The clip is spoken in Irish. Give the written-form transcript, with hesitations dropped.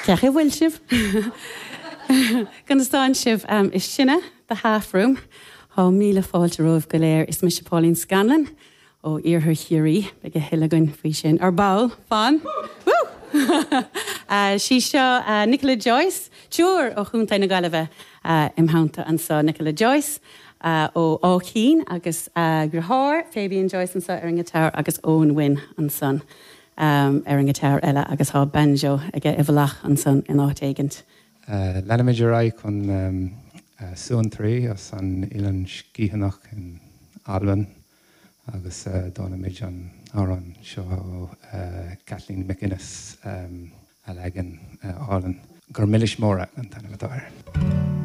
Cén chaoi a bhfuil sibh? Conas tánn sibh? Is sinne The Half Room. Tá míle fáilte romhaibh go léir. Is mise Pauline Scanlon ó Iarthar Chiarraí. Beidh a thuilleadh againn faoi sin ar ball. Fan! Woo! Sí seo Nicola Joyce, triúr ó Chontae na Gaillimhe im theannta anseo. Nicola Joyce ó Áth Cinn agus a dheartháir Fabian Joyce anseo ar an ngiotár agus Eoin Wynne ansan ar an ngiotár eile agus tá banjo aige i bhfolach ansan in áit éigint. Leanfaimid ar aghaidh chun Suantraí as an Oileán Sgitheanach in Albain agus dánfaimid an amhrán seo ó Kathleen MacInnes, a leagan álainn. Gur Milis Móra an t-ainm atá air.